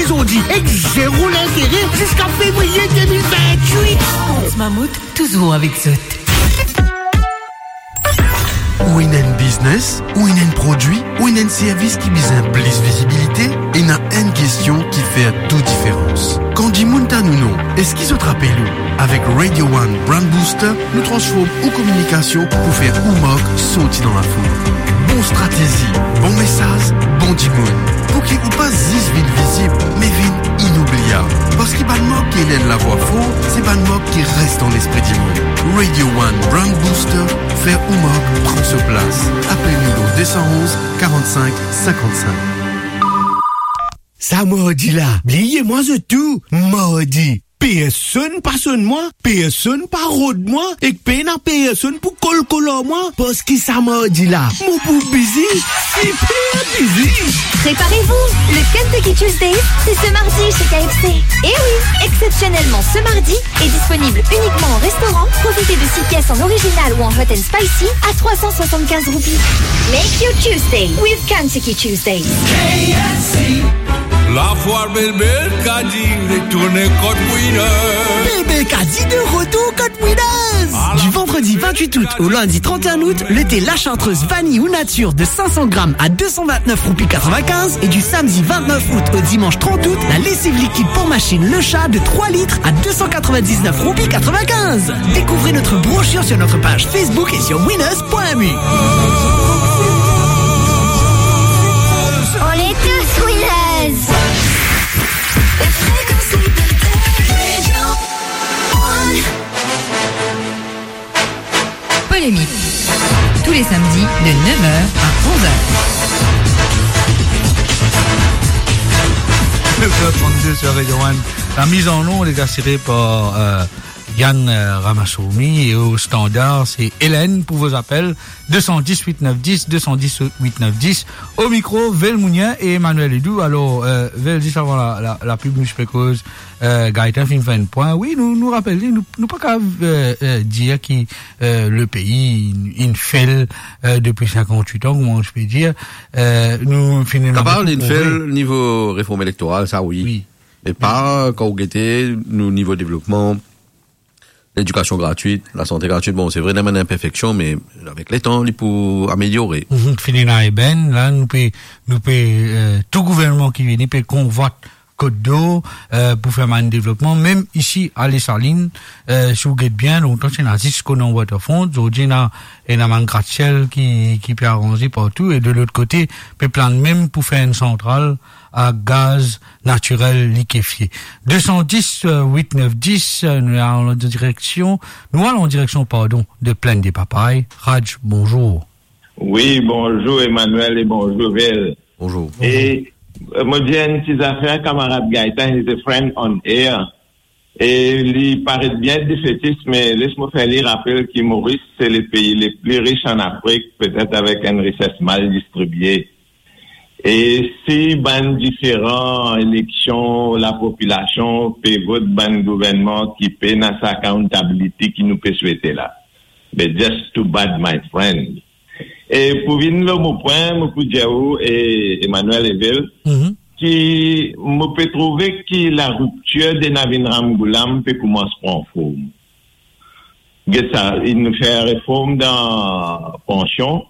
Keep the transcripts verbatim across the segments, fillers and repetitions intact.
Zordi ek zero lintere ziska fevriye de mil vintwit. Kont Mammouth, touzour avek zot. Ou ena enn biznes, ou ena enn prodwi, ou ena enn servis ki bizin plis vizibilite, ena enn kestion ki fer tou diferans. Kan dimoun tann ou non, eski zot rapel ou? Avek Radio One Brand Booster, nou transform ou kominikasion pou fer ou mark sorti dan lafoul. Bon stratezi, bon mesaz, bon dimoun. Pou ki ou pa zis vinn vizib, me vinn inoubliab. Parski bann mark ki ena enn lavwa for, se bann mark ki res dan lespri dimoun. Radio One Brand Booster, fer ou mark pran so plas. Apel nou dan de san onz, karannsink, sinkannsink. Sa mardi la, bliye mwa zot tou, mardi. Personn pa sonn mwa, personn pa rod mwa, ek pena personn pou kolkol ar mwa, parski sa mardi la, mo pou bizi, siper bizi. Préparez-vous, le Kentucky Tuesday, c'est ce mardi chez K F C. Eh oui, exceptionnellement ce mardi, est disponible uniquement en restaurant. Profitez de six pièces en original ou en hot and spicy à trois cent soixante-quinze roupies. Make your Tuesday with Kentucky Tuesday. K F C. Lafoire Bel Bel Kadi retourne kot winner. Bel Bel Kadi de retour kot winners. Du vendredi vingt-huit août au lundi trente et un août, le thé La Chartreuse vanille ou nature de cinq cents grammes à deux cent vingt-neuf roupies quatre-vingt-quinze et du samedi vingt-neuf août au dimanche trente août, la lessive liquide pour machine Le Chat de trois litres à deux cent quatre-vingt-dix-neuf roupies quatre-vingt-quinze. Découvrez notre brochure sur notre page Facebook et sur winners point M U. On est tous winners. Polémique. Tous les samedis de neuf heures à onze heures. Neuf heures trente-deux sur Radio One. La mise en onde est assurée par, euh, Yann, euh, Ramasourmi et au standard, c'est Hélène pour vos appels. Deux cent dix, huit neuf dix, deux cent dix, huit neuf dix. Au micro, Vel Mounien et Emmanuel Edou. Alors, euh, Vel, zis avan la, la, la pub, nou ti pe koz, euh, Gaëtan finn fer enn pwin. Wi, nou, nou rapel li, nou, nou pa kapav, euh, euh, dir ki, euh, le pays, inn, inn fail, euh, depuis cinquante-huit ans, kouma nou pe dir. Euh, nou finn... Kapav inn fail nivo reform elektoral, sa wi. Wi. Me pa, kan ou gete nou nivo devlopman, ledikasion gratwit, lasante gratwit, bon, se vre, ena bann inperfeksion, me avek letan, li pou ameliore. Mhm, finn ena ebenn, la, nou pe, nou pe, euh, tou gouvernman ki vini pe konvwat Côte d'Or, euh, pou fer bann devlopman, mem isi a Desalin, euh, si ou get bien, lontan ti ena zis konan waterfront, zordi ena, ena bann grasiel ki, ki pe aranze partou, e de lot kote, pe plann mem pou fer enn santral a gaz natirel likefie. Deux cent dix, euh, huit neuf dix, euh, nou al an direksion, nou al an direksion, pardon, de Plaine des Papayes. Raj, bonzour. Wi, bonzour Emmanuel e bonzour Vel. Bonzour. E, euh, mo dir enn ti zafer, kamarad Gaëtan, he's a friend on air. E li paret bien defetis, me les mo fer li rapel ki Moris se le pei le pli ris an Afrik, petet avek enn rises mal distribie. E si bann diferan eleksion, lapopilasion pe vot bann gouvernman ki pena sa accountability ki nou pe swete la, but just too bad, my friend. E pou vinn lor mo pwin, mo pou dir ou, e Emmanuel e Vel, Mhm. ki mo pe trouve ki lariptir de Navin Ramgoolam pe koumans pran form. Get sa, inn fer reform dan pansion,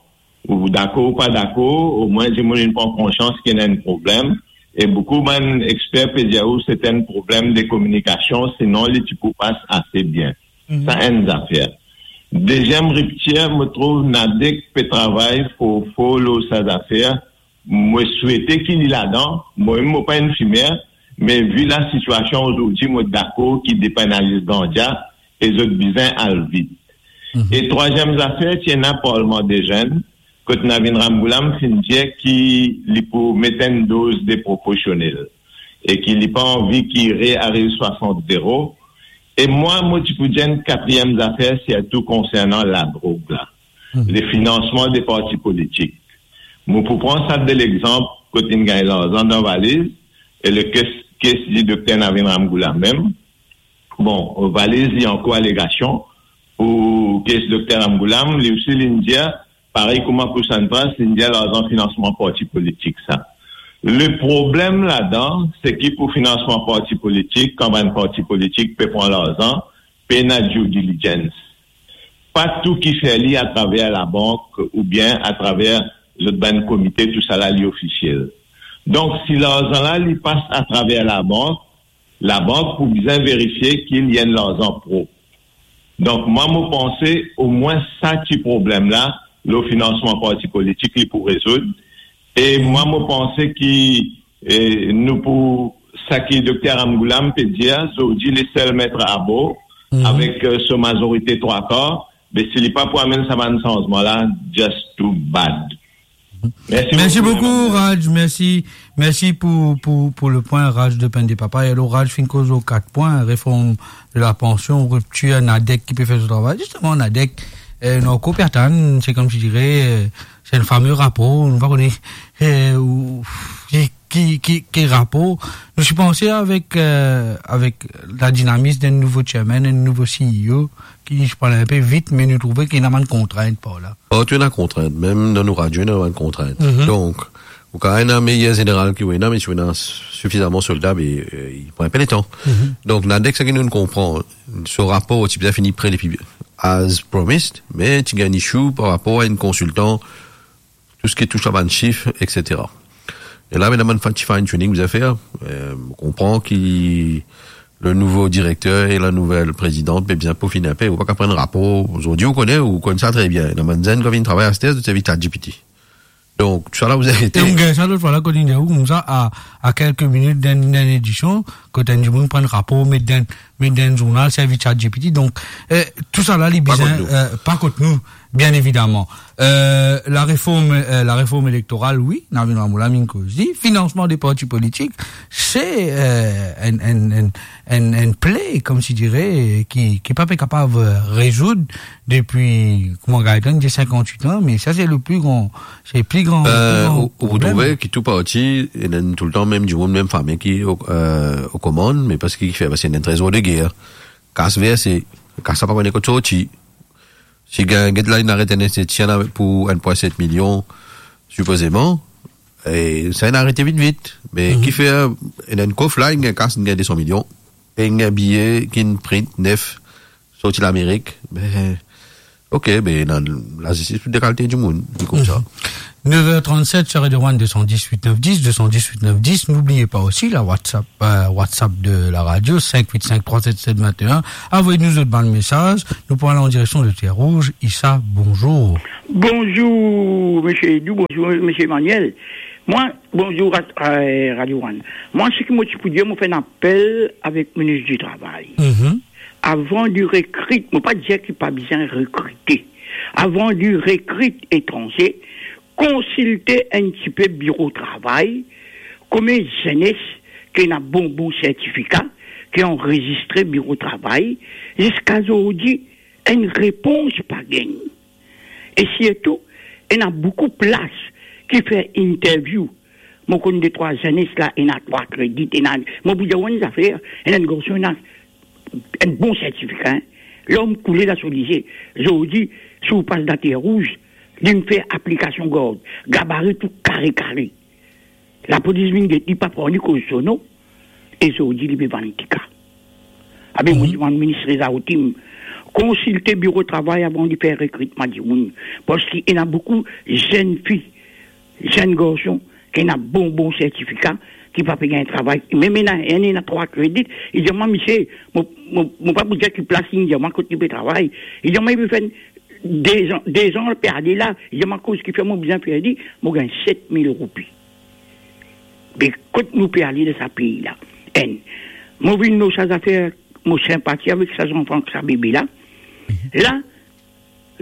ou dakor ou pa dakor, omwin dimoun inn pran konsians ki ena enn problem, e boukou bann exper pe dir ou se enn problem de kominikasion, sinon li ti pou pas ase bien. Mhm. Sa enn zafer. Deziem riptir, mo trouv NADEC pe travay for for lor sa zafer. Mo swete ki li ladan, mo mem mo pa enn fimer, me vi lasitwasion ozordi, mo dakor ki depenaliz ganja e zot bizin al vit. Mhm. E trwaziem zafer, ti ena Parlman de Zenn, kot Navin Ramgoolam finn dir ki li pou met enn doz de proporsionel e ki li pa anvi ki re ariv swasant zero. E mwa, mo ti pou dir enn katriem zafer, sirtou konsernan ladrog la, Mhm. le finansman de parti politik. Mo pou pran sa de lexanp, kot inn gagn larzan dan valiz, e le kes, kes di Dokter Navin Ramgoolam mem. Bon, valiz li ankour alegasion, pou kes Dokter Ramgoolam, li osi linn dir, parey kouma pou Santras, linn dir larzan finansman parti politik sa. Le problem ladan, se ki pou finansman parti politik, kan bann parti politik pe pran larzan, pena due diligence. Pa tou ki fer li atraver labank oubien atraver zot bann komite, tousala li ofisiel. Donk, si larzan la li pas atraver labank, labank pou bizin verifie ki li enn larzan prop. Donk, mwa, mo panse, omwin sa ti problem la, lor finansman parti politik, li pou rezoud. E mwa, mo panse ki, e, nou pou, sa ki Dokter Ramgoolam pe dir, zordi, li sel met abor, avek, e, so mazorite trwa kar, be si li pa pou amenn sa bann sanzman la, just too bad. Mersi Mersi boukou, boukou, Ramon. Raj. Mersi, mersi pou, pou, pou le pwin, Raj de Pende Papa. E alor, Raj finn koz lor kat pwin, reform de la pansion, riptir, NADEC ki pe fer so travay. Zisteman, NADEC, e, nou ankor pe atann, se koumsi dire, e, se enn fame rapor, nou pa kone, e, ou, ki, ki, ki, ki rapor. Nou ti panse avek, e, avek la dinamis d'enn nouvo chairman, enn nouvo C E O, ki ti pran inpe vit, me nou trouve ki ena bann kontrint par la. Partou ena kontrint, mem dan nou radio, ena bann kontrint. Mhm. Donk, ou kapav ena meyer zeneral ki ou ena, me si ou ena sifizaman solda, be, e, li pran inpe letan. Mhm. Donk, NADEC, seki nou konpran, so rapor ti bizin fini pre depi as promised, me ti gagn issue par rapor a enn konsiltan, tou seki touch a bann sif, et cetera. E la, ena bann ti fine tuning bizin fer. E, mo konpran ki le nouvo direkter e la nouvel prezidant pe bizin pofin inpe. Ou pa kapav pran rapor. Zordi, ou kone, ou konn sa tre bien. Ena bann zenn ki vinn travay aster, zot servi ChatGPT. Donk, tousala, ou arete. E ou gagn sa lot fwa la, kot inn dir ou koumsa, a, a kelke minit dan, dan ledision, kot enn dimoun pran rapor, met dan, met dan zournal, servi ChatGPT. Donk, e, tousala, li bizin, pa kot nou, bien evidaman. E, la reform, e, la reform elektoral, wi, Navin Ramgoolam inn koz li. Finansman de parti politik, se, e, enn, enn, enn, enn, enn ple, koumsi dire, ki, ki pa pe kapav, e, rezoud depi, kouma Gaëtan dir, sinkant-wit an, me sa se le pli gran, se le pli gran, pli gran problem. E, ou, ou trouve ki tou parti, ena toultan mem dimoun, mem fami ki o, e, o komann, me parski ki fer, parski ena enn trezor de ger. Kas verse, kas la pa kone kot sorti. Si gagn, get la, inn aret enn institusion pou enn pwin set milion, sipozeman, e sa inn arete vit vit. Me ki fer, ena enn kof la, inn gagn kas, inn gagn de san milion, e inn gagn biye ki'nn print nef, sorti Lamerik. Me, ok, be, ena lazistis pou dekalite dimoun, li koumsa. Mhm. Neuf heures trente-sept sur Radio One, deux cent dix-huit neuf dix, deux cent dix-huit neuf dix. N'oubliez pas aussi la WhatsApp, euh, WhatsApp de la radio, cinq huit cinq trois sept sept vingt et un. Envoyez-nous votre bann mesaz. Nou pou al an direksion de Terre Rouge. Issa, bonzour. Bonzour, Monsieur Edou. Bonzour, Monsieur Emmanuel. Mwa, bonzour, Ra-, euh, Radio One. Mwa, seki mo ti pou dir, mo fer enn apel avek minis di travay. Mhm. Avan di rekrit, mo pa dir ki pa bizin rekrite. Avan di rekrit etranze, konsilte enn tipe biro travay, konbien zenes ki ena bon, bon sertifika, ki anrezistre biro travay, ziska zordi, enn repons pa gagn. E sirtou, ena boukou plas ki fer interview. Mo konn de trwa zenes la, ena trwa kredit, ena, mo pou dir ou enn zafer, ena enn garson, ena enn bon sertifika, hein. Lom koule dan so lizie. Zordi, si ou pas dan Terre Rouge, li'nn fer aplikasion gard, gabari tou kare kare. Lapolis vinn get li, pa pran li koz so non. E zordi, li pe vann tika. Abe, mo dimann minis Reza Hatim, konsilte biro travay avan li fer rekritman dimoun. Parski ena boukou zenn fi, zenn garson, ki ena bon, bon sertifika, ki pa pe gagn travay. Mem ena, enn ena trwa kredit, li dir mwa, misie, mo, mo, mo pa pou dir ki plas, li dir mwa kot li pe travay. Li dir mwa, li pe fer dezan, dezan pe ale la, li dir mwa, koz ki fer mo bizin fer li, mo gagn set mil roupi. Be kot nou pe ale dan sa pei la? Enn, mo vinn lor sa zafer, mo sinpati avek sa zanfan, sa bebe la. La,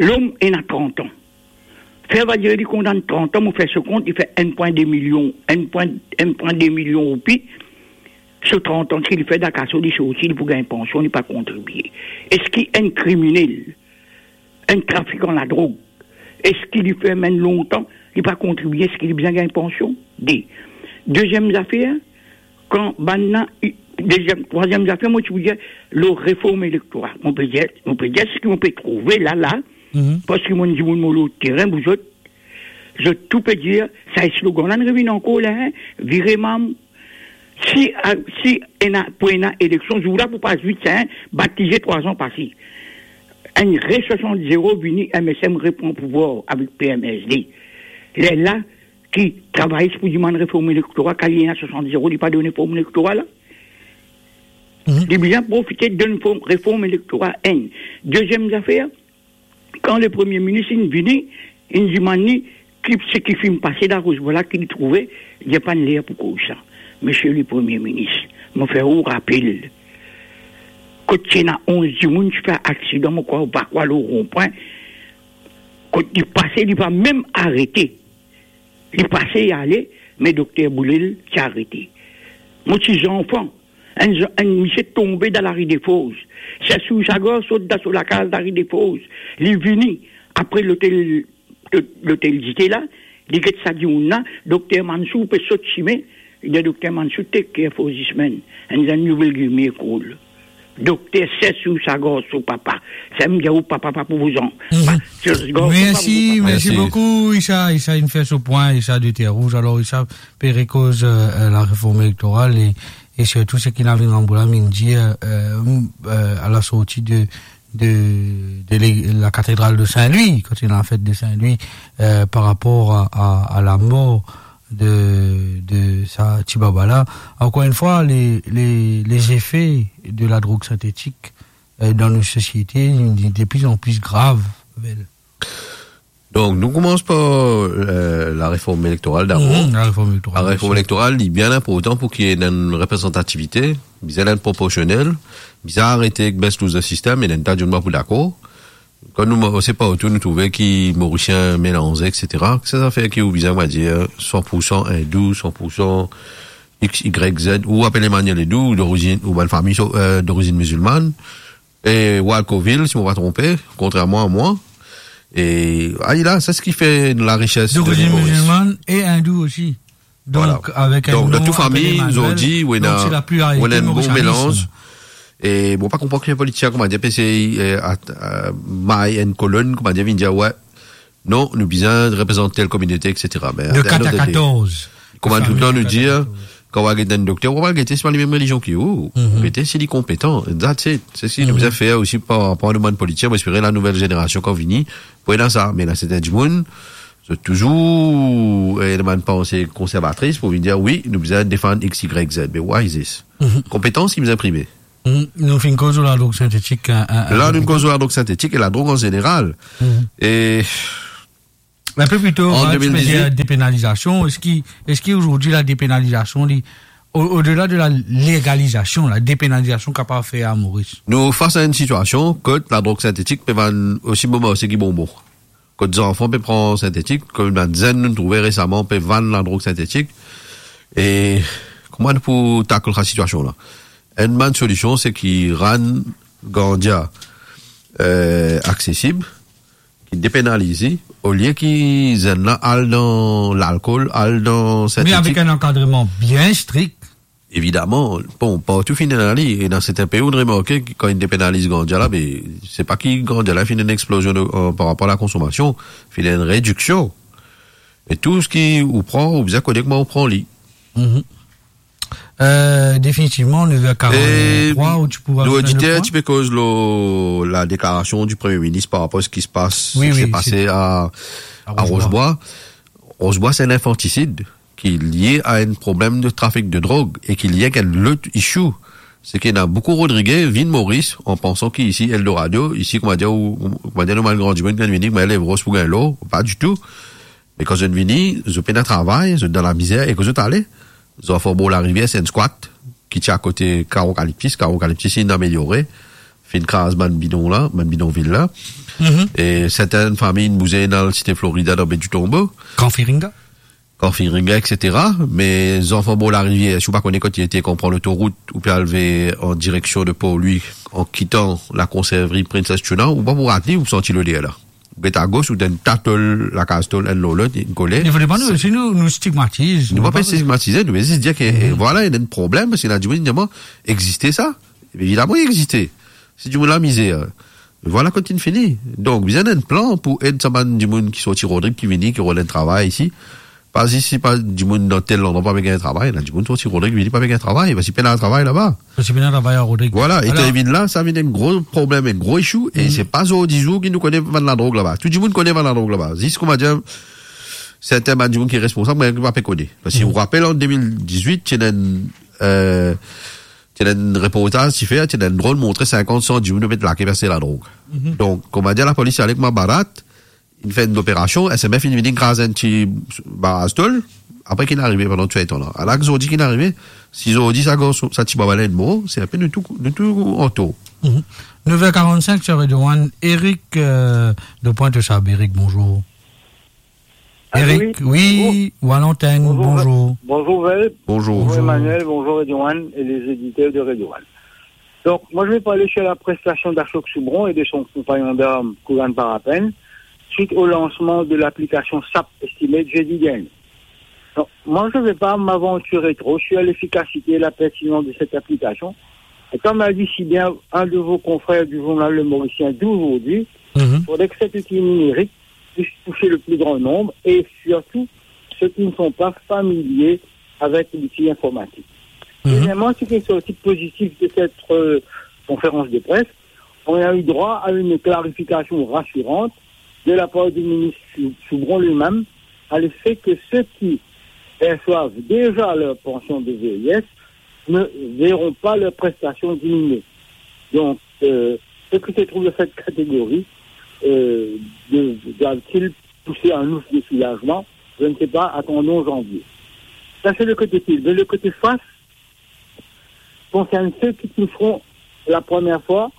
lom ena trant an. Fer va dir li kondann trant an, mo fer so kont, li fer enn pwin de milion, enn pwin, enn pwin de milion roupi. So trant an, si li fer dan kaso, li sorti, li pou gagn pansion, li pa kontribie. Eski enn kriminel, enn trafikan ladrog, eski li fermen lontan, li pa kontribie, eski li bizin gagn pansion? De. Deziem zafer, kan bann la, i-, deziem, trwaziem zafer, mo ti pou dir, lor reform elektoral. Mo pe dir, mo pe dir seki mo pe trouve la, la, parski mo dimoun mo lor terin, bouzot, zot tou pe dir, sa slogan la inn revinn ankor la, hein, vire mam. Si, a, si ena, pou ena eleksion, zour la pou pas vit, hein, batize trwa zan pase. Enn re swasant zero vini, M S M repran pouvwar avek P M S D. Lerla ki travayis pou dimann reform elektoral, kan li ena swasant zero, li pa donn reform elektoral la. Mhm. Li bizin profite donn form, reform elektoral, enn. Deziem zafer, kan le Premie Minis inn vini, inn dimann li, ki seki finn pase Larosbwa la, ki li trouve, li dir pa'nn ler pou koz sa. Misie le Premie Minis, mo fer ou rapel, kot ti ena onz dimoun ti fer aksidan, mo krwar, ou pa krwar, lor ronpwin, kot li pase, li pa mem arete. Li pase, li ale, me dokter Boulel ti arete. Mo ti zanfan, enn, enn misie tonbe dan lari Defoz. Sesou Sagar sot dan so lakaz lari Defoz. Li vini apre lotel, lotel dite la, li get sa dimoun la, dokter Mansour pe sot sime, li dir dokter Mansour, take care for this man, and then you will give me a call. Dokter Sesou Sagar, so papa. Sa, mo dir ou, papa, pa pou vouzan. Mhm. Pa, Sesou Sagar, so papa, Mersi, papa. Mersi. Mersi boukou, Issa. Issa inn fer so pwin, Issa de Terre Rouge. Alor, Issa pe rekoz, euh, euh, la reform elektoral e, e sirtou seki Navin Rambourg la inn dir, euh, euh, a la sorti de, de, de le-, la katedral de Saint-Louis, kot ena fet de Saint-Louis, euh, par rapor a, a, a lamor de, de sa ti baba la. Ankor enn fwa, le, le, lezefe de la drog sintetik, euh, dan nou sosiete, li de pli an pli grav, Vel. Donk, nou koumans par, euh, la reform elektoral dabor. Mhm, la reform elektoral, La reform elektoral, li bien inportan pou ki ena enn reprezantativite, bizin ena enn proporsionel, bizin arete ek best loser system, e ena enn ta dimoun pa pou dakor. Kan nou marse partou, nou trouve ki Morisien melanze, et cetera. Ki sa zafer ki ou bizin, on va dir, san pour san indou, san pour san X, Y, Z, ou apel Emmanuel Edou, ou dorizinn, ou bann fami, so, euh, dorizinn mizilmann, e Walkoville, si mo pa tronpe, kontrerman a mwa. E, ah, la, se seki fer larises de Dorizinn Moris. Mizilmann e indou osi. Donk, Vwala. Avek enn Donk, dan non tou fami, apel Emmanuel, zordi, ou ena, donk se la pluralite ou ena enn bon morisyanis. Melanz. E bon, pa konpran ki enn politisien, koumadir, pe sey, eh, at-, eh, may enn kolonn, koumadir, vinn dir, we, non, nou bizin reprezant tel kominote, et cetera. Me De at the end of the day, kat a katorz. Kouma toultan nou dir, kan ou al get enn dokter, ou pa al gete si li mem relizion ki ou, Mhm. ou gete si li konpetan. That's it. Se seki nou Mhm. bizin fer osi par rapor a nou bann politisien. Mo espere la nouvel zenerasion kan vini, pou ena sa. Me ena sertin dimoun, zot touzour, eh, ena bann panse konservatris pou vinn dir, wi, nou bizin defann X, Y, Z. But why is this? Mhm. Konpetans ki bizin prime. Mhm. Nou finn koz lor ladrog sintetik, hein, hein, La, nou koz lor ladrog sintetik e ladrog an zeneral. Mhm. E Enn pe plito, An hein, ti pe dir deux mille dix-huit. Depenalizasion, eski, eski ozordi la depenalizasion, li, o, odela de la legalizasion, la depenalizasion kapav fer a Moris? Nou fas a enn sitiasion kot ladrog sintetik pe vann osi bon marse ki bonbon. Kot zanfan pe pran sintetik, kouma bann zenn nou trouve resaman pe vann ladrog sintetik. E kouma nou pou takl sa sitiasion la? Enn bann solision, se ki rann gandia, euh, aksesib, ki depenaliz li, olie ki zenn la al dan lalkol, al dan Me sintetik. Avek enn ankadreman bien strik. Evidaman, bon, partou finn ena li, e dan sertin pei, ou remarke ki kan inn depenaliz gandia la, be, se pa ki gandia la finn ena enn explosion de, euh, par rapor a lakonswamasion, finn ena enn rediksion. E tou seki ou pran, ou bizin kone kouma ou pran li. Mhm. Euh, definitivman, nev er karant trwa, E ou ti pou nou razout enn lotr oditer, pwin? Ti pe koz lor ladeklarasion di Premie Minis par rapor a seki ti pas, Wi, seki wi, ti pase a, a a Roze Bwa. Roze Bwa. Roze Bwa, se enn infantisid ki lie a enn problem de trafik de drog e ki lie avek enn lot issue. Se ki ena boukou Rodrige vinn Moris an pansan ki isi Eldorado, isi, koumadir, ou, koumadir, normal, gran dimoun ki vinn vini, koumadir, lev ros pou gagn lor, pa ditou. Me kan zot vini, zot pena travay, zot dan lamizer, e kan zot ale, zot fer bor larivier, se enn squat ki ti akote Karo Kaliptis, Karo Kaliptis inn ameliore, finn kraz bann bidon la, bann bidonvil la. Mhm. E sertin fami inn bouze, inn al Site Florida dan Be di Tonbo. Kan Firinga? Kan Firinga, et cetera. Me zanfan bor larivier, si ou pa kone kot li ete, kan ou pran lotorout, ou pe al ve an direksion de Port Louis, an kitan lakonservri Princess Tuna, ou pa pou rat li, ou santi loder la. Ou get agos, ou ena enn ta tol, lakaz tol, enn lor lot, inn kole. Li fode pa nou, si nou, nou stigmatiz, Nou nou pa pa pe stigmatize, nou pe zis dir ke, Mhm. vwala, ena enn problem, parski ena dimoun, evidaman, existe sa. Evidaman, li existe. Si dimoun la mizer, Vwala kot inn fini. Donk, bizin enn plan pou ed sa bann dimoun ki sorti Rodrig, ki vini, ki rod enn travay isi. Pa zis, si pa dimoun dan tel landrwa pa pe gagn travay, la dimoun sorti Rodrig vini pa pe gagn travay, parski pena travay laba. Parski pena travay a Rodrig. Vwala, e kan li vinn la, sa vinn enn gro problem, enn gro issue, e se pa zordi zour ki nou kone vann ladrog laba. Tou dimoun kone vann ladrog laba. Zis kouma dir, sertin bann dimoun ki responsab, me ki pa pe kone. Parski ou rapel, an de mil dizwit, ti ena enn, eh, ti ena enn reportaz ti fer, ti ena enn dron montre sinkant, san dimoun met lake, pase ladrog. Donk, kouma dir, lapolis ale kouma barat, inn fer enn operasion, S M F inn vini kraz enn ti baraz tol, apre ki inn arive pandan tou letan la. Ala zordi ki inn arive, si zordi sa garson, sa ti baba la inn mor, se inpe nou tou, nou tou antor. Mhm. Nev er karannsink, ti avek Johan, Eric, euh, de Pointe-aux-Sables. Eric, bonzour. Allô, Eric, oui. Oui, ou à l'antenne, bonjour. Bonjour, Val. Bonjour. Bonjour, Emmanuel. Bonjour, Radio One et les éditeurs de Radio One. Donc, moi, je vais parler sur la prestation d'Ashok Soubron et de son compagnon d'armes, Kuran Parapen, suite au lancement de l'application sap Estimate jeudi dernier. Donc, moi, je ne vais pas m'aventurer trop sur l'efficacité et la pertinence de cette application. Et comme l'a dit si bien un de vos confrères du journal Le Mauricien d'aujourd'hui, il faudrait que cet outil numérique puisse toucher le plus grand nombre et surtout ceux qui ne sont pas familiers avec l'outil informatique. Deuxièmement, ce qui est sorti positif de cette, euh, conférence de presse, on a eu droit à une clarification rassurante de la part du ministre Sou-, Soubron lui-même, à l'effet que ceux qui perçoivent déjà leur pension de vieillesse ne verront pas leur prestation diminuer. Donc, euh, ceux qui se trouvent dans cette catégorie, euh, de-, doivent-ils pousser un ouf de soulagement ? Je ne sais pas, attendons janvier. Ça, c'est le côté pile. Mais le côté face concerne ceux qui toucheront la première fois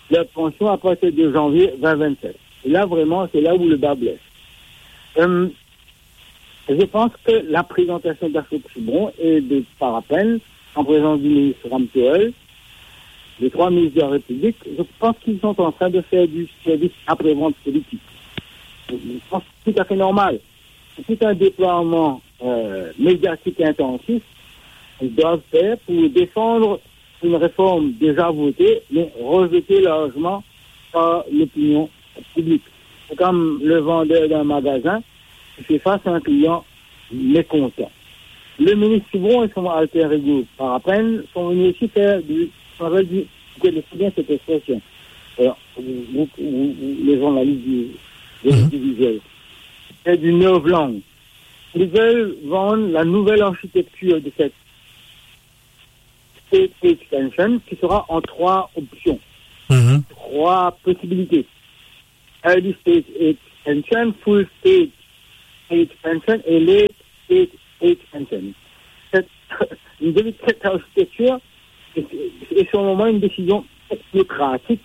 leur pension à partir de janvier vingt vingt-sept. Et là, vraiment, c'est là où le bât blesse. Euh, je pense que la présentation d'Ashok Soubron et de Parapen en présence du ministre Ramtoël, les trois ministres de la République, je pense qu'ils sont en train de faire du service après-vente politique. Je pense que c'est tout à fait normal. C'est tout un déploiement, euh, médiatique intensif qu'ils doivent faire pour défendre une réforme déjà votée, mais rejetée largement par l'opinion publique. C'est comme le vendeur d'un magasin qui fait face à un client mécontent. Le ministre Soubron et son alter ego Parapen sont venus aussi faire du, on appelle du, vous connaissez bien cette expression, euh, vous, vous, vous, les journalistes du, de l'audiovisuel, c'est du novlangue. Ils veulent vendre la nouvelle architecture de cette state age pension qui sera en trois options, trois possibilités. Early stage age pension, full stage age pension et late stage age pension. Cette, une de cette architecture est, est sur le moment une décision technocratique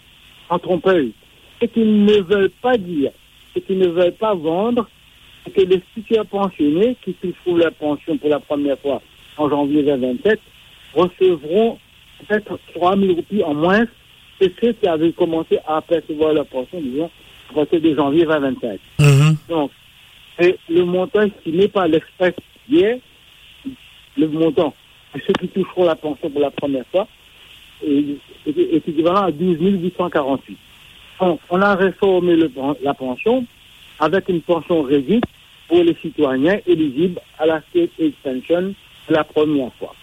en tromperie. Ce qu'ils ne veulent pas dire, ce qu'ils ne veulent pas vendre, c'est que les futurs pensionnés qui toucheront leur pension pour la première fois en janvier vingt vingt-sept recevront peut-être trois mille roupies en moins que ceux qui avaient commencé à percevoir leur pension, disons, à partir de janvier vingt vingt-cinq. Donc, et le montant estimé par l'Express hier, le montant de ceux qui toucheront la pension pour la première fois est, est, est équivalent à douze mille huit cent quarante-huit. On, on a réformé le, la pension avec une pension réduite pour les citoyens éligibles à la state age pension pour la première fois.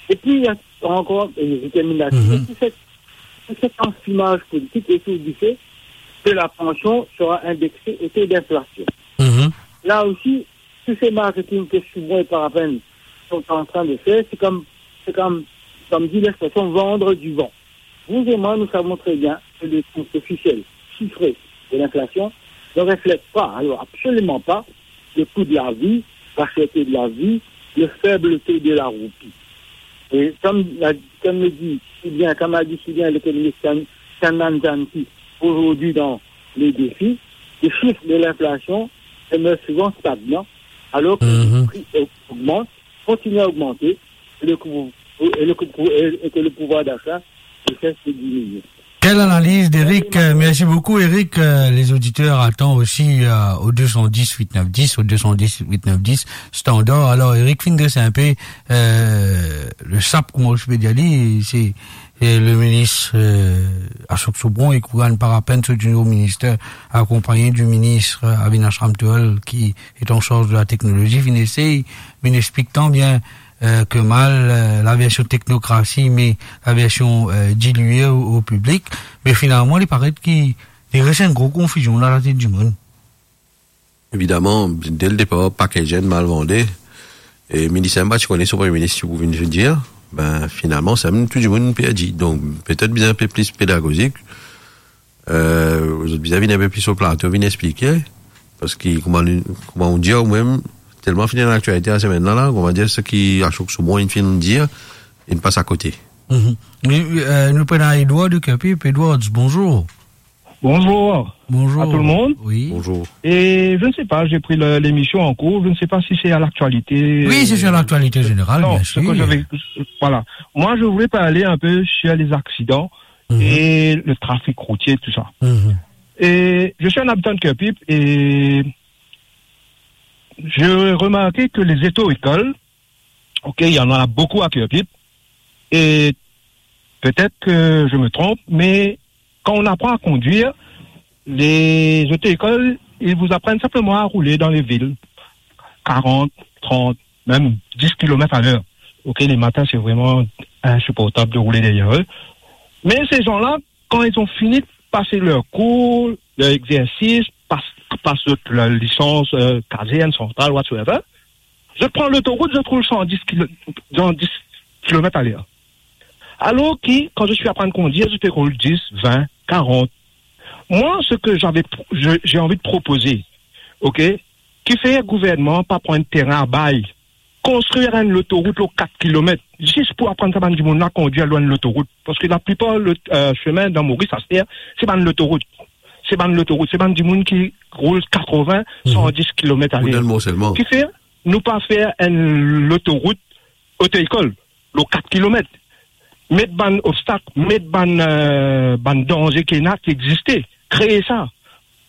Et puis, il y a encore, et je termine là-dessus, tout cet, tout cet enfumage politique autour du fait que la pension sera indexée au taux d'inflation. Là aussi, tous ces marketing que Soubron et Parapen sont en train de faire, c'est comme, c'est comme, comme dit l'expression, vendre du vent. Vous et moi, nous savons très bien que les taux officiels, chiffrés de l'inflation ne reflètent pas, alors absolument pas, le coût de la vie, la cherté de la vie, le faible taux de la roupie. Et comme l'a, comme le dit si bien, comme a dit si bien l'économiste Chan-, Chandan Janki aujourd'hui dans Les Défis, les chiffres de l'inflation demeurent souvent stagnants, alors que les prix au-, augmentent, continuent à augmenter, et le coût, et le coût, et, et que le pouvoir d'achat ne cesse de diminuer. Quelle analyse d'Eric. Euh, merci beaucoup, Eric. Euh, les auditeurs attendent aussi, euh, au deux cent dix huit neuf dix, au deux cent dix huit neuf dix, standard. Alors, Eric, fin dres inpe, euh, le sap, kouma ou pe dir li, se, se le minis, euh, Ashok Soubhon, e ki ena pa lapenn, se nouvo minis, akonpagn di minis, euh, Avinash Ramtohal, ki est en charge de la technologie, vinn esey, vinn explik tan bien, euh, ke mal, euh, la version technocratie, mais la version, euh, diluée au, au public. Me finalman, li paret ki, li res enn gro konfizion dan latet dimoun. Evidaman, dès le départ, paket enn mal vande. E minis mem pa ti kone so premie minis ti pou vinn dir. Ben, finalman, sa mem tou dimoun perdi. Donk, petet bizin enpe plis pedagozik. Euh, zot bizin vinn enpe plis o plato, vinn explike. Parski, kouma nou, kouma ou dir, ou mem, telman finn dan laktialite lasemenn la, la, kouma dir, seki Ashok Soubhon inn finn dir, inn pas akote. Mhm. Me, euh, nou pena Edward de Kerpip. Edward, bonjour. Bonjour. Bonjour. À tout le monde. Oui. Bonjour. Et je ne sais pas, j'ai pris le- l'émission en cours, je ne sais pas si c'est à l'actualité. Oui, c'est sur l'actualité générale, non, bien sûr. Ce que j'avais, voilà. Moi, je voulais parler un peu sur les accidents Mhm. et le trafic routier, tout ça. Mhm. Et je suis un habitant de Kerpip et j'ai remarqué que les auto-écoles, ok, il y en a beaucoup à Kerpip, et peut-être que je me trompe, mais quand on apprend à conduire, les auto-écoles, ils vous apprennent simplement à rouler dans les villes, quarante, trente, même dix kilomètres à l'heure. Ok, les matins, c'est vraiment insupportable de rouler derrière eux. Mais ces gens-là, quand ils ont fini de passer leur cours, leur exercice, pas, pas leur licence, euh, caserne, centrale, whatsoever, je prends l'autoroute, je roule cent dix kilo, cent dix kilomètres à l'heure. Alors que, quand je suis en train de conduire, je peux rouler dix, vingt, quarante. Moi, ce que j'avais, je- j'ai envie de proposer, ok, ki fer gouverneman pa pran enn terin a bay, konstrir enn lotorout lor kat kilomet, zis pou aprann sa bann dimoun la kondwir lor enn lotorout. Parski laplipar lot, euh, semin dan Moris aster, se bann lotorout. Se bann lotorout, se bann dimoun ki roul katrovin, Mhm. san dis kilomet aler. Ou dan Mont Selman. Ki fer, nou pa fer enn lotorout oto-ekol, lor kat kilomet. Met bann obstak, met bann, euh, bann danze ki ena, ki existe. Kree sa.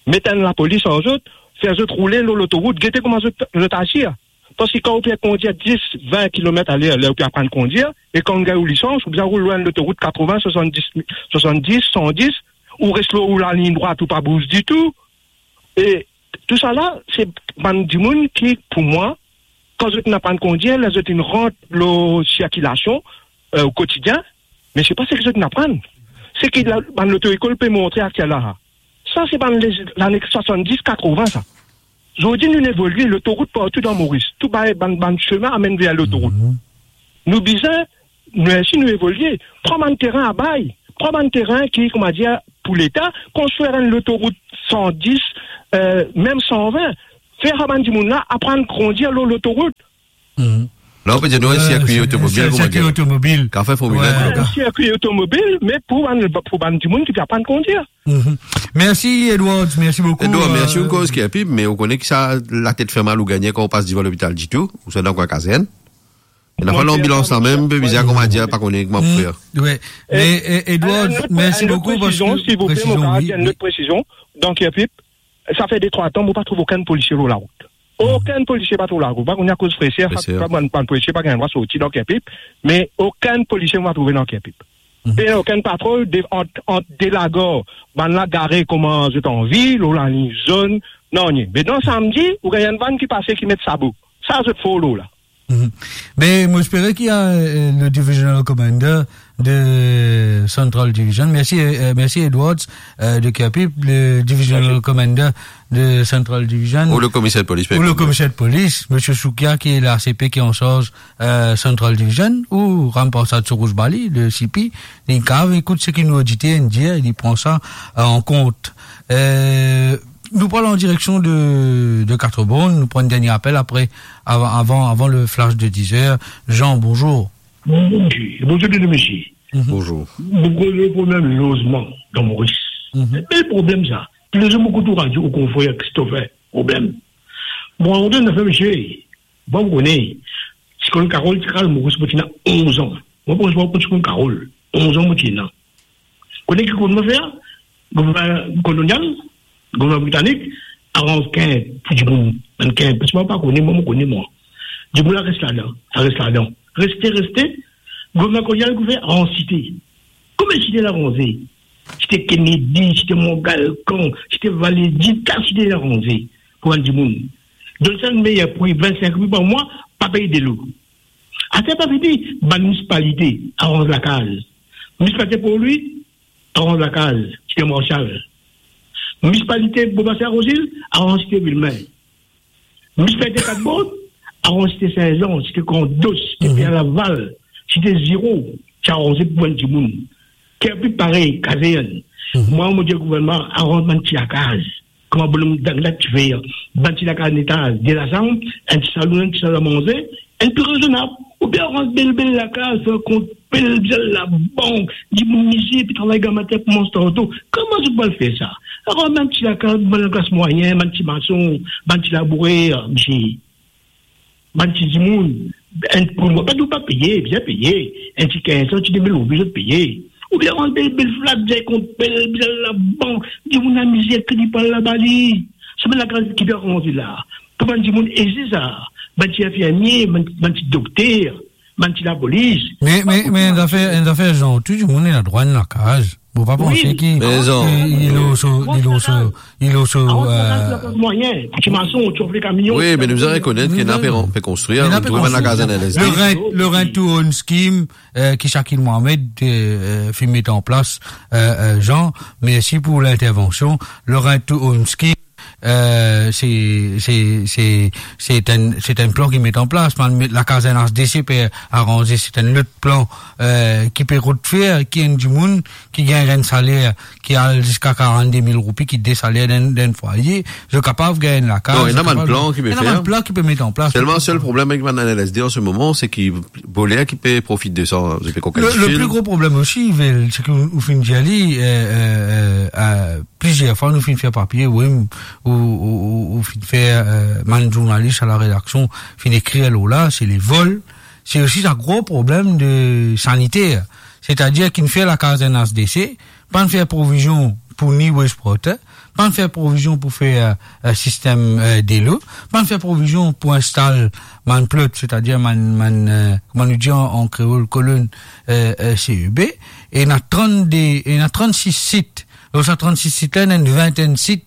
Met enn lapolis ar zot, fer zot roule lor lotorout, gete kouma zot, zot azir. Parski kan ou pe kondwir dis, vin kilomet aler, ler ou pe aprann kondwir, e kan ou gagn ou lisans, ou bizin roul lor enn lotorout katrovin, swasanndis, swasanndis, san dis, ou res lor ou lalign drwat, ou pa bouz ditou. E tousala, se bann dimoun ki, pou mwa, kan zot inn aprann kondwir, ler zot inn rant lor sirkilasion, euh, o kotidien, me se pa seki zot inn aprann. Seki la, bann loto-ekol pe montre aktielman la. Sa, se bann lez-, lane swasanndis, katrovin, sa. Zordi, nou evolye, lotorout partou dan Moris. Tou bann, bann, bann semin amenn ver lotorout. Mhm. Nou bizin, nou osi, nou evolye. Pran bann terin a bay. Pran bann terin ki, koumadir, pou Leta, konstrir enn lotorout san dis, euh, mem san vin. Fer sa bann dimoun la aprann kondwir lor lotorout. Mhm. La, ou pe dir nou enn Euh, sirkwi sir-, otomobil, sir-, koumadir. Sirkwi otomobil. Kafe Formil enn, ouais, koumadir. Sirkwi otomobil, me pou bann, pou bann dimoun ki pe aprann kondwir. Mhm. Mersi, Edward. Mersi boukou, Edward, mersi, euh, ou koz ki inpe, me ou kone ki sa latet fer mal ou gagne kan ou pas devan lopital ditou, ou swa dan kwin kazern. Ena pa lanbilans la mem, pe bizin, koumadir, pa kone kouma pou fer. Mm, ouais. Me, euh, Edward, enn lot, mersi boukou, enn lot presizion, parski, silvouple, presizion, mo kapav dir enn lot presizion. Dan Kerpip, sa fer de trwa tan, mo pa trouv okenn polisie lor larout. Mhm. Okenn polisie pa trouv larout. Pa kone akoz freser, freser, sa, bann, bann polisie pa gagn drwa sorti dan Kerpip, me okenn polisie mo pa trouve dan Kerpip. Mhm. Pena okenn patrol de, ant, ant de lagar, bann la gare kouma zot anvi, lor lalign zonn, nanye. Me dan samdi, ou gagn enn vann ki pase ki met sabo. Sa zot for lor la. Mhm. Me mo espere ki, euh, le divisional commander de Central Division, mersi, euh, mersi Edwards, euh, de Kerpip, le divisional commander de Central Division. Ou le komiser de polis, ou le komiser de polis, misie Soukia, ki la A C P, ki an sarz, euh, Central Division, ou Ram Parsad Souroush Bali, le C P, li kav ekout seki nou oditer inn dir, li pran sa, euh, an kont. Euh, nou pran an direksion de, de Quatre-Bornes, nou pran enn dernie apel apre, avan, avan, avan le flash de diz er. Jean, bonjour. Bonjour, bonjour, mesye. Mhm. Bonjour. Mo koz le problem lozman dan Moris. Mhm. Se bel problem sa. Tou le zour mo ekout ou radio, ou konfrer Christopher, problem. Bon, avan de nou fer, mesye, bon, ou kone, Siklonn Carol ti kraz Moris, mo ti ena onz an. Mo pa konn si ou konn Siklonn Carol. Onz an mo ti ena. Kone ki gouvernman fer? Gouvernman kolonial, gouvernman britanik, aranz kinp pou dimoun, bann kinp, parski mwa pa kone, mwa, mo kone mwa. Dimoun la res ladan, la res ladan. Reste, reste, gouvernman kolonial ki fer aranz site. Konbien site la aranze? Site Kennedy, site Mont Galcan, site Vallée d'Isle, kat site la aranze pou bann dimoun. Donn sa enn meyer pri, vinn-sink roupi par mwa, pa pey delo. Aster pa fini, bann minisipalite aranz lakaz. Minisipalite Port Louis aranz lakaz, site Marshall. Minisipalite Bobassin Rosil aranz site Vilmin. Minisipalite Katborn aranz site Saint-Jean, site Grand Dos, site Mhm. Pierre Laval, site Ziro, ti aranze pou bann dimoun. Kerpik parey, kazern. Mhm. Mwa, mo dir gouvernman, aranz bann ti lakaz. Kouma bonom Dangla ti fer, bann ti lakaz netaz, de lazam, enn ti salon, enn ti sal a manze, enn pli rezonab. Oubien aranz bel, bel lakaz, fer kont bel, bel labank, dimoun mize, epi travay gramatin pou manz tanto. Kouma zot pou al fer sa? Aranz bann ti lakaz, bann lakaz mwayin, bann ti mason, bann ti labourer, misie. Bann ti dimoun, enn pou mwa, pa nou pa peye, bizin peye, enn ti kinz san, ti de mil roupi zot peye. Oubien aranz bel, bel flat, bizin kont bel, bizin labank, dimoun amize, kredi pa laba li. Sa bann lakaz ki pe aranze la. Pou bann dimoun eze sa, bann ti infirmie, bann, bann ti dokter, bann ti lapolis. Me, me, me, enn zafer, enn zafer, Jean, tou dimoun ena drwa enn lakaz. Mo pa panse ki, Me Jean, ki, li lor so, li lor so, li lor so, Aranz lakaz, euh, lakaz mwayin, ti mason, ti ofle kamion. Wi, me nou bizin rekonet ki ena pe, pe konstrir, ena nou pe trouv bann lakaz konstrir. N L S D. Le rent, le rent to own scheme, euh, ki Shakil Mohamed, euh, euh, finn met an plas, euh, euh, Jean, mersi pou lintervansion. Le rent to own scheme, euh, se, se, se, se enn, se enn plan ki met an plas. Bann met lakaz N H D C pe aranze, se enn lot plan, euh, ki pe rod fer, ki enn dimoun ki gagn enn saler ki al ziska karannde mil roupi, ki de saler dan, dan enn fwaye, zot kapav gagn enn lakaz, Non, ena bann plan ki pe fer. Ena bann plan ki pe met an plas. Selman, sel problem avek bann N L S D an se moman, se ki voler ki pe profit de sa, zot pe kokenn difil. Le, le pli gro problem osi, Vel, se ki ou, ou finn dir li, euh, euh, euh, euh, plizier fwa nou finn fer papie, wi, ou, ou, ou, ou finn fer, euh, bann zournalis a la redaksion finn ekrir lor la, se le vol, se osi sa gro problem de saniter. Setadir ki'nn fer lakaz N H D C, pa'nn fer provizion pou ni wastewater, pa'nn fer provizion pou fer, euh, euh, sistem, euh, delo, pa'nn fer provizion pou instal bann plot, setadir bann, bann, euh, kouma nou dir an, an kreol, kolonn, euh, euh, C E B, e ena trannde, ena trannsis sit. Lor sa trannsis sit la, ena enn vintenn sit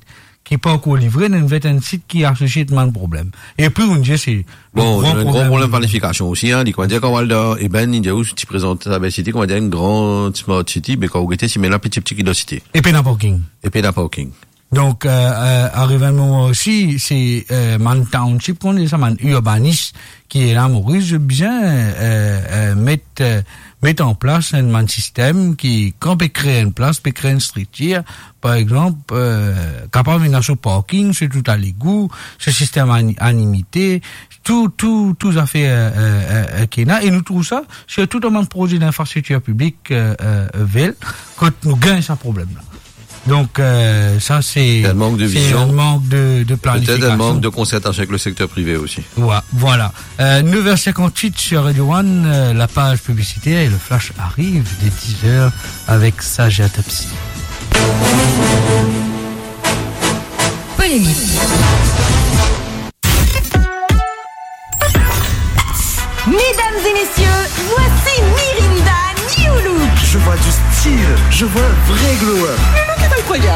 ki pa ankor livre, ena enn vintenn sit ki asosie bann problem. Epi, nou dir se Bon, gro problem. Gro problem planifikasion osi, hein, li, kouma dir, kan ou al dan Eben, li dir ou ti prezant sa bel site, kouma dir, enn gran smart city, me kan ou gete, simem la piti piti ki dan site. E pena parking. E pena parking. Donk, euh, euh, arive enn moman osi, se, euh, bann township, kouma dir sa, bann urbanis ki ena Moris, bizin, euh, euh, met, euh, met an plas enn bann sistem ki, kan pe kre enn plas, pe kre enn striktir, par exanp, euh, kapav ena so parking, so tou a legou, so sistem ani-, animite, tou, tou, tou zafer, euh, euh, euh, ki ena, e nou trouv sa sirtou dan bann proze dinfrastriktir piblik, euh, euh, Vel, kot nou gagn sa problem la. Donk, euh, sa se, Se enn mank de se vizion. Enn mank de, de Petet enn planifikasion. Mank de konsertasion avek le sekter prive osi. Wa-, vwala. Euh, neuf heures cinquante-huit sur Radio One, euh, la page publicitaire et le flash arrive dès dix heures avec Sage et Topsy. Polémique. Mesdames et messieurs, voici Mirinda New Look. Je vois du style, je vois un vrai glow up. Le look est incroyable.